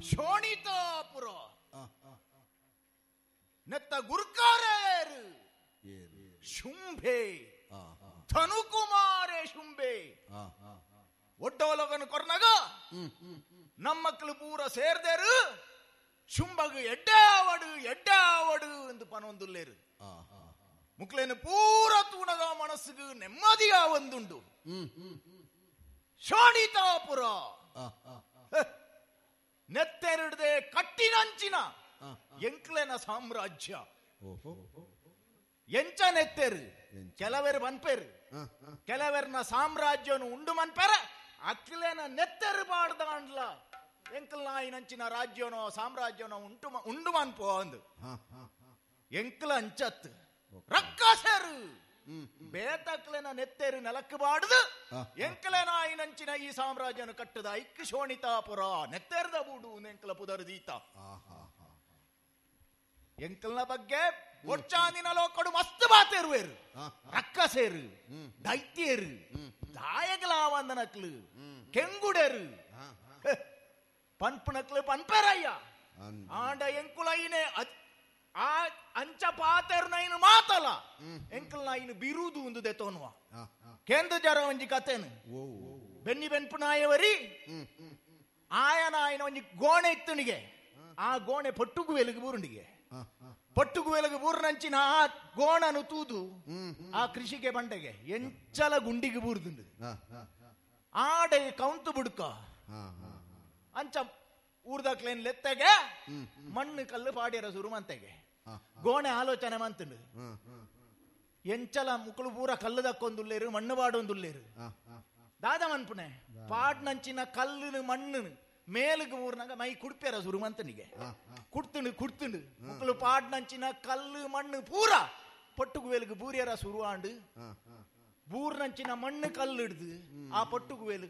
ಶೋಣಿತಾಪುರ ನೆತ್ತ ಗುರ್ಕಾರೇರು ಶುಂಭೆ ಧನುಕುಮಾರೇ ಶುಂಭೆ ಒಡ್ಡೋಲಗನು ಕೊರ್ನಗ ನಮ್ಮಕ್ಕಳು ಪೂರ ಸೇರ್ದೇರು ಶುಂಭಗು ಎಡ್ಡಾವಡು ಎಡ್ಡಾವಡು ಎಂದು ಪನೊಂದುಲ್ಲೇರು ಮುಕ್ಲೇನು ಪೂರ ತೂಣಗ ಮನಸ್ಸುಗು ನೆಮ್ಮದಿಯ ಒಂದುಂಡು ಶೋಣಿತಾಪುರ ನೆತ್ತೆರಡದೆ ಕಟ್ಟಿನಂಚಿನ ಎಂಕ್ಲೆನ ಸಾಮ್ರಾಜ್ಯ ಎಂಚ ನೆತ್ತೆರು ಕೆಲವರು ಬನ್ಪೇರು ಕೆಲವರ್ನ ಸಾಮ್ರಾಜ್ಯನು ಉಂಡು ಮನ್ಪೆರ ಅಕ್ಲೆನ ನೆತ್ತೆರು ಪಾಡ್ದಾಂಡ್ಲ ಎಂಕಲ್ ನಾಯಿನಂಚಿನ ರಾಜ್ಯನೋ ಸಾಮ್ರಾಜ್ಯನೋ ಉಂಟು ಉಂಡು ಮನ್ಪೋ ಅಂದು ಎಂಕ್ಲ ಅಂಚತ್ ರಕ್ಕಸರು ಬೇತಕ್ಲೆನ ನೆತ್ತೆರು ನೆಲಕ್ಕೆ ಬಾಡುದು ಎಂಕಲೆ ನಾಯಿನಂಚಿನ ಈ ಸಾಮ್ರಾಜ್ಯನು ಕಟ್ಟದ ಐಕ್ ಶೋಣಿತಾಪುರ ನೆತ್ತೆರ್ದ ಬೂಡು ಎಂಕಲ ಪುದರು ದೀತ ಎಂಕಲ್ನ ಬಗ್ಗೆ ಒಚ್ಚಾಂದಿನ ಲೋಕಡು ಮಸ್ತ್ ಬಾತೇರುವೇರು ರಕ್ಕಸೇರು ದೈತ್ಯರು ದಾಯಕಲಾವಂದನಕ್ಲು ಕೆಂಗುಡರು ಪನ್ಪುನಕ್ಲು ಪನ್ಪೆರಯ್ಯ ಆಂಡ ಎಂಕುಲೈನೆ ಆ ಅಂಚ ಪಾತೆರು ನೈನು ಮಾತಲ ಎಂಕಲ್ ನಾಯಿನ ಬಿರುದು ಒಂದು ದೆತೋನುವ ಕೇಂದ್ರ ಜರ ಒಂಜಿ ಕತೆನು ಬೆನ್ನಿ ಬೆನ್ಪುನಾಯವರಿ ಆಯನ ಆಯನ ಒಂಜಿ ಗೋಣೆ ಇತ್ತುನಿಗೆ ಆ ಗೋಣೆ ಪಟ್ಟುಗು ವೆಲುಗು ಬೂರುಂಡಿಗೆ ಪಟ್ಟುಗು ವೆಲುಗು ಬೂರ್ನಂಚಿನ ಆ ಗೋಣನು ತೂದು ಆ ಕೃಷಿಗೆ ಬಂಡೆಗೆ ಎಂಚಲ ಗುಂಡಿಗೆ ಬೂರ್ದುಂಡು ಆಡೆ ಕೌಂತು ಬುಡ್ಕ ಅಂಚ ಊರ್ದಕ್ಲೇನ್ ಲೆತ್ತೆಗೆ ಮಣ್ಣು ಕಲ್ಲು ಪಾಡ್ಯರ ಸುರು ಮಂತೆಗೆ ಗೋಣೆ ಆಲೋಚನೆ ಮಂತುಂಡು ಎಂಚಲ ಮುಕುಳು ಪೂರ ಕಲ್ಲು ದಕ್ಕೊಂದುಲ್ಲೇರು ಮಣ್ಣು ಪಾಡೊಂದುಲ್ಲೇರು ದಾದ ಮನ್ಪುನೆ ಪಾಡ್ನಂಚಿನ ಕಲ್ಲುನು ಮಣ್ಣುನು ಮೇಲುಗು ಊರ್ನಾಗ ಮೈ ಕುಡ್ಪೇರ ಸುರು ಮಂತನಿಗೆ ಕುಡ್ತುಂಡು ಕುಡ್ತುಂಡು ಮುಕುಳು ಪಾಡ್ನಂಚಿನ ಕಲ್ಲು ಮಣ್ಣು ಪೂರ ಪಟ್ಟುಗುವೇలుగు ಬೂರ್ಯರ ಸುರುವಾಂಡು ಬೂರ್ನಂಚಿನ ಮಣ್ಣು ಕಲ್ಲು ಹಿಡ್ದು ಆ ಪಟ್ಟುಗುವೇಲು.